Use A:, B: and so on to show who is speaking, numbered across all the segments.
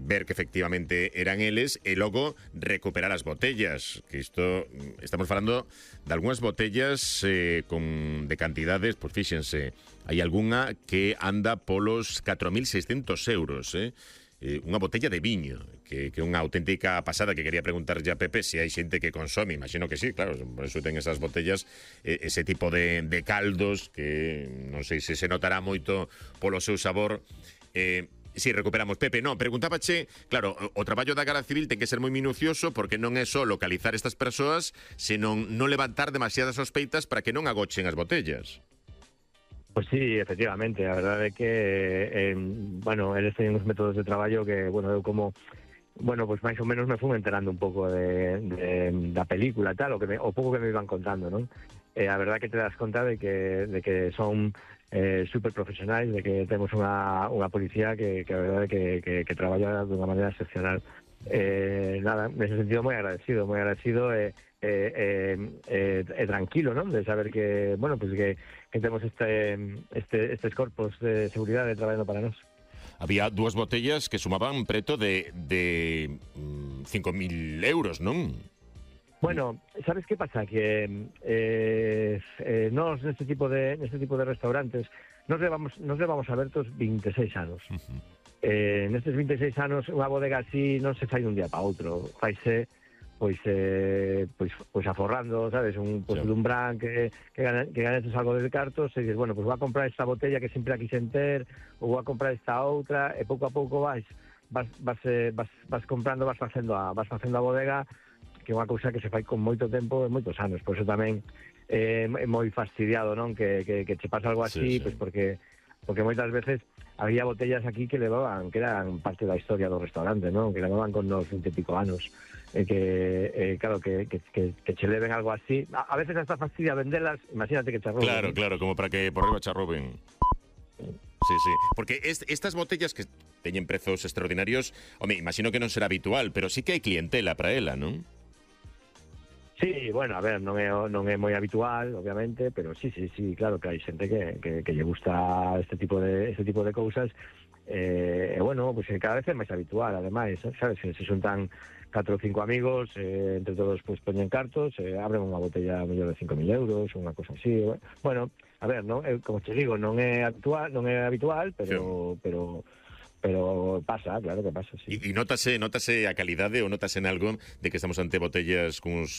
A: ver que efectivamente eran eles e logo recuperar as botellas, que isto estamos falando de algunhas botellas de cantidades, pois fíxense, hai algunha que anda polos 4.600 euros, unha botella de viño, que é unha auténtica pasada, que quería preguntarlle a Pepe se hai xente que consome, imagino que sí, claro, por eso ten esas botellas, ese tipo de caldos, que non sei se notará moito polo seu sabor. Si, recuperamos. Pepe, non, preguntábache, claro, o traballo da Garda Civil ten que ser moi minucioso, porque non é só localizar estas persoas, senón non levantar demasiadas sospeitas para que non agochen as botellas.
B: Pues sí, efectivamente, a verdade é que bueno, eles teñen uns métodos de traballo que, bueno, eu como pues máis ou menos me fui enterando un pouco da película, tal, o pouco que me iban contando, non? A verdade que te das conta de que son super profesionais, de que temos unha policía que a verdade que traballa de unha maneira excepcional. Nada, nese sentido moi agradecido tranquilo, non? De saber que, bueno, pues que temos estes corpos de seguridade traballando para nós.
A: Había dúas botellas que sumaban preto de 5.000 euros, non?
B: Bueno, sabes que pasa? Que nós neste tipo de restaurantes nos levamos abertos 26 anos. Nestes 26 anos unha bodega así non se fai dun día para outro, faise pois aforrando, sabes, dun brand que ganes algo de cartos e dices, bueno, pues vou a comprar esta botella que sempre aquí ter, ou vou a comprar esta outra, e pouco a pouco vas comprando, vas facendo a bodega, que é unha cousa que se fai con moito tempo e moitos anos. Por iso tamén é moi fastidiado, non? Que che pasa algo así, sí. Pues porque moitas veces había botellas aquí que eran parte da historia do restaurante, non? Que levaban con nos 20 e pico anos. Claro, que che leven algo así. A veces hasta fastidia vendelas, imagínate que che roben.
A: Claro, como para que por riba che roben. Sí. Porque estas botellas que teñen prezos extraordinarios, home, imagino que non será habitual, pero sí que hai clientela para ela, non?
B: Sí, bueno, a ver, non é moi habitual, obviamente, pero sí, claro que hai xente que lle gusta este tipo de cousas. Bueno, pues cada vez é máis habitual, ademais, sabes, se xuntan 4 ou 5 amigos, entre todos pues poñen cartos, abren unha botella mellor de 5.000 euros, unha cosa así. Bueno, a ver, non, como te digo, non é habitual, pero pasa, claro que pasa, sí.
A: E notase a calidade, ou notase en algo de que estamos ante botellas cuns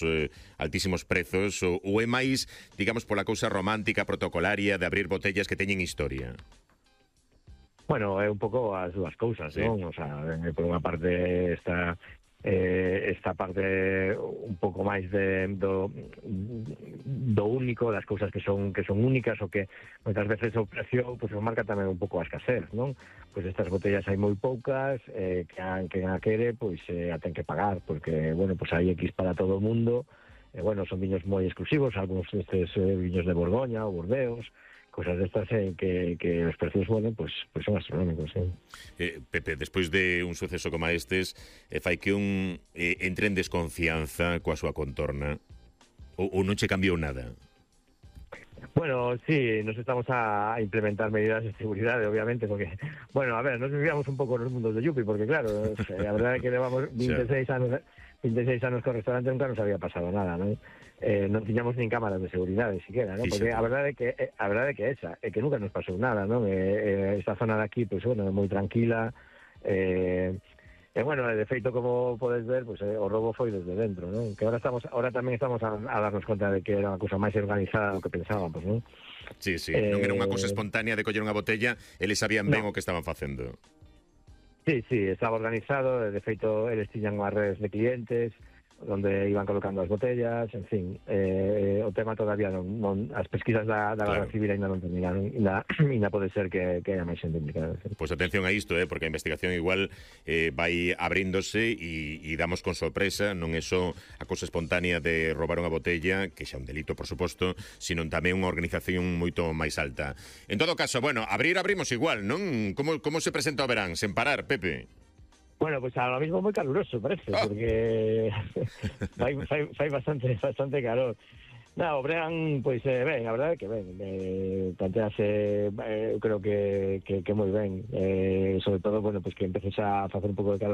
A: altísimos prezos, ou é máis, digamos, pola cousa romántica, protocolaria, de abrir botellas que teñen historia?
B: Bueno, é un pouco as dúas cousas, sí. Non? O sea, por unha parte esta parte un pouco máis do único, das cousas que son únicas, o que moitas veces o precio pues marca tamén un pouco a escasez, non? Pois estas botellas hai moi poucas, quen a quere, pois a ten que pagar, porque, bueno, pues hai X para todo o mundo, bueno, son viños moi exclusivos, algúns destes viños de Borgoña ou Bordeos, cosas destas en que os precios, bueno, pues son astronómicos, sí.
A: Pepe, despois de un suceso como estes, fai que un entre en desconfianza coa súa contorna, ou non che cambiou nada?
B: Bueno, sí, nos estamos a implementar medidas de seguridade, obviamente, porque, bueno, a ver, nos vivíamos un pouco nos mundos de Yupi, porque claro, a verdade é que levamos 26 anos co restaurante, nunca nos había pasado nada, non? Non tiñamos nin cámaras de seguridade siquiera, non? Porque a verdade é que esa, é que nunca nos pasou nada, non? Esta zona de aquí, pois, bueno, é moi tranquila, bueno, de feito, como podes ver, pues, o robo foi desde dentro, non? Que ahora tamén estamos a darnos conta de que era unha cousa máis organizada do que pensábamos, non?
A: Sí, non era unha cousa espontánea de coller unha botella, eles sabían ben o que estaban facendo.
B: Sí, estaba organizado, de feito, eles tiñan unhas redes de clientes, onde iban colocando as botellas, en fin, o tema todavía non as pesquisas da Garda Civil ainda non terminaron, ainda pode ser que haya máis xente implicada.
A: Pois atención a isto, porque a investigación igual vai abríndose e damos con sorpresa, non é só a cousa espontánea de roubar unha botella, que xa un delito, por suposto, sino tamén unha organización moito máis alta. En todo caso, bueno, abrimos igual, non? Como se presenta o verán? Sen parar, Pepe?
B: Bueno, pues ahora mismo moi caluroso, parece, porque fai bastante calor. No, o verán, pois, ben, a verdade é que ben, plantease, eu creo que moi ben, sobre todo, bueno, pues que empeces a facer un pouco de calor